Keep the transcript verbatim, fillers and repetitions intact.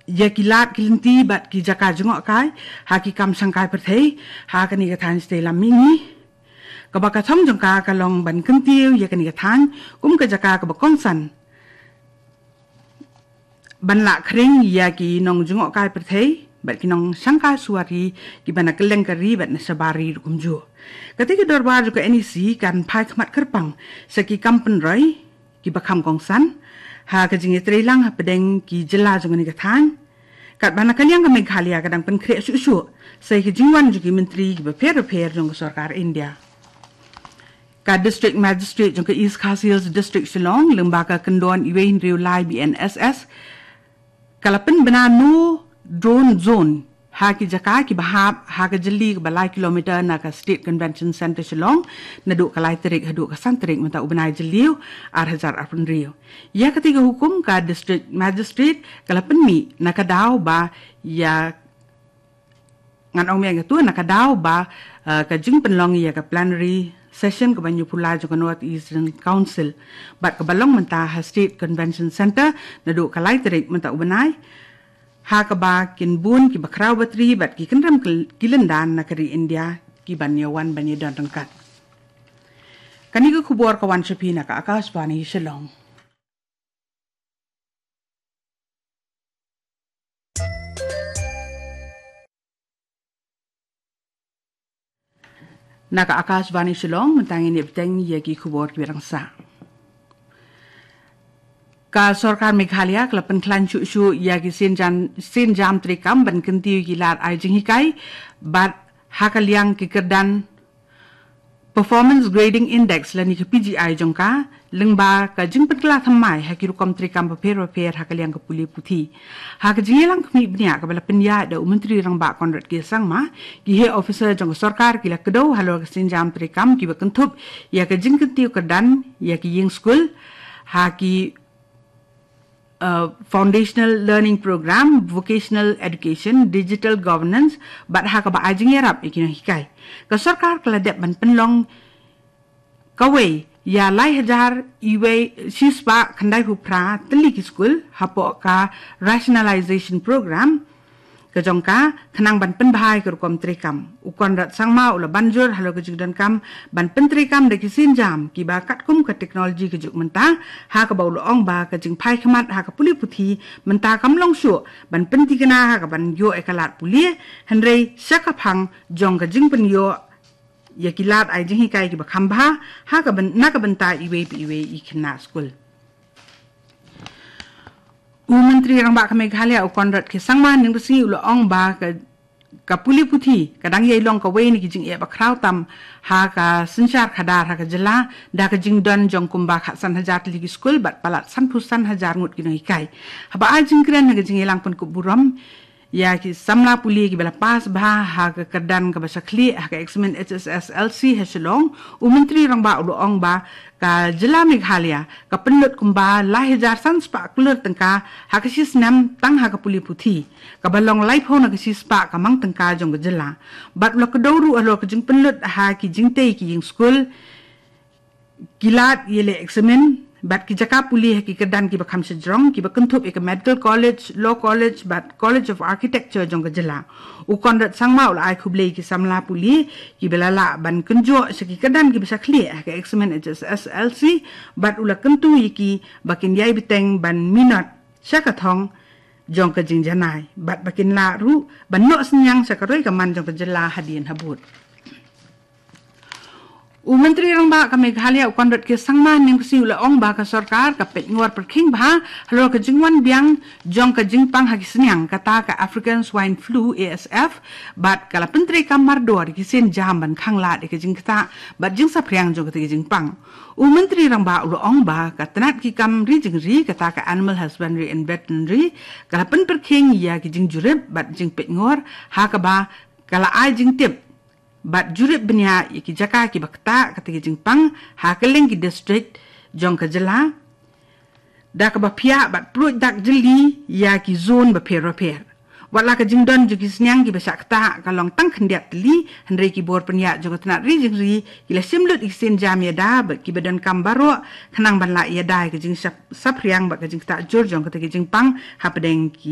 ïa ki lad ki lynti bad ki jaka jngohkai ha ki kam shangkai pyrthei ha kane ka thaiñ shatei lam mihngi. Kaba ka thong jong ka ka long ban kyntiew ïa kane ka thaiñ kum ka jaka kaba kongsan ban lah khring ïa ki nong jngohkai pyrthei bad ki nong shangkai suwari kiba na kylleng ka ri bad na shabar ri ruh kumjuh. Kata ka dorbar jong ka N E C kan phai khmat kyrpang sha ki kam pynroi kiba kham kongsan ha ka jingïatreilang hapdeng ki jylla jong kane ka thaiñ. Katba na ka liang ka Meghalaya ka dang pynkhreh shuh shuh sa ïa ka jingwan jong ki myntri kiba pher bapher jong ka sorkar India. Ka District Magistrate jong ka East Khasi Hills District Shillong, lyngba ka kyndon uwei hynriew lai B N S S, ka la pynbna no drone zone ha ki jaka kiba hap ha ka jylli kaba lai kilometer na ka State Convention Centre Shillong, naduh ka lai tarik haduh ka san tarik mynta u bnai Jylliew ar hajar arphew hynriew. Ïa kata ka hukum ka District Magistrate ka la pynmih na ka daw ba ïa ngan ong mynta na ka daw ba, eh, ka jingpynlong ïa ka plenary session kaba hynñiewphew lai jong ka North Eastern Council bad kaba long mynta ha State Convention Centre naduh ka lai tarik mynta u bnai, ha kaba kin bun kiba khraw batri bad ki kynrem ki lyndan na ka ri India kiban ïawan ban ïadon ryngkat. Kane ka khubor ka wan sha phi na ka Akashvani Shillong. Na ka Akashvani Shillong, mynta ngin ïa bteng ïa ki khubor kiba rangsa. Ka sorkar Meghalaya ka la pynkhlaiñ shuh shuh ïa ki sienjam, sienjam treikam ban kyntiew ki lad ai jinghikai bad ha ka liang ki kyrdan Performance Grading Index lane ka P G I jong ka, lyngba ka jingpynkylla thymmai ha ki rukom treikam bapher bapher ha ka liang ka pule puthi. Ha ka jingïalang khmih bniah kaba la pynïaid da u Myntri Rangbah Conrad K Sangma, ki heh officer jong ka sorkar ki la kdew halor ka sienjam treikam kiba kynthup ïa ka jingkyntiew kyrdan ïa ki ïing skul ha ki uh, Foundational Learning Program, Vocational Education, Digital Governance, bad ha kaba ai jingïarap ïa ki nonghikai. Ka sorkar ka la dep ban pynlong kawei ïa lai hajar uwei shispah khyndaiphew phra tylli ki skul hapoh ka Rationalization Program ka jong ka, khnang ban pynbha ïa ka rukom treikam. U Conrad Sangma u la ban jur halor ka jingdonkam ban pyntreikam da ki sienjam kiba katkum ka teknoloji ka juk mynta, ha kaba u la ong ba ka jingphai khmat ha ka pule puthi mynta kam long shuh ban pynthikna ha kaban ïoh ïa ka lad pule, hynrei sha ka phang jong ka jingpynïoh ïa ki lad ai jinghikai kiba kham bha ha ka byn-, na ka bynta iwei pa iwei i khynnah skul. U Myntri Rangbah ka Meghalaya u Conrad K Sangma hynne ka sngi u la ong ba ka, ka pule puthi ka dang ïai long kawei na ki jingeh bakhraw tam ha ka synshar khadar ha ka jylla, da ka jingdon jong kumba khatsan hajar tylli ki skul bad palat sanphew san hajar ngut ki nonghikai. Haba ai jingkren ha ka jingïalang pynkup burom ïa ki samla pule kiba la pass bha ha ka kyrdan kaba shaklieh ha ka eksamin H S S L C ha Shillong, u Myntri Rangbah u la ong ba ka jylla Meghalaya ka pynlut kumba lai hajar san spah klur tyngka ha ka shi snem tang ha ka pule puthi, kaba long laiphew na ka shi spah ka mang tyngka jong ka jylla. Bad u la kdew ruh halor ka jingpynlut ha ki jingtei ki ïing skul, ki lad ïaleh eksamin bad ki jaka pule ha ki kyrdan kiba kham shajrong kiba kynthup ïa ka Medical College, Law College bad College of Architecture jong ka jylla. U Conrad Sangma u la ai khublei ïa ki samla pule kiba la lah ban kynjoh sha ki kyrdan kiba shaklieh ha ka eksamin H S S L C bad u la kyntu ïa ki ba kin ïai bteng ban minot sha ka thong jong ka jingjanai bad ba kin lah ruh ban noh synñiang sha ka roi ka man jong ka jylla hadien habud. U Myntri Rangbah ka Meghalaya u Conrad K Sangma hynne ka sngi u la ong ba ka sorkar ka peit ngor pyrkhing bha halor ka jingwan biang jong ka jingpang ha ki synñiang kata ka African Swine Flu, A S F, bad ka la pyntreikam mardor ïa ki sienjam ban khanglad ïa ka jingktah bad jingsaphriang jong kata ka jingpang. U Myntri Rangbah u la ong ba ka tnat ki kam ri jingri kata ka Animal Husbandry and Veterinary ka la pynpyrkhing ïa ki jingjurip bad jingpeit ngor ha kaba ka la ai jingtip bad jurip bniah ïa ki jaka kiba ktah kata ka jingpang ha kylleng ki district jong ka jylla, da kaba phiah bad pluid dak jylli ïa ki zone bapher bapher. Wat la ka jingdon jong ki synñiang kiba shah ktah ka long tang khyndiat tylli, hynrei ki bor pynïaid jong ka tnat ri jingri ki la shim lut ïa ki sienjam ïada bad kiba donkam baroh khnang ban lah ïada ïa ka jingsaphriang bad ka jingktah jur jong kata ka jingpang hapdeng ki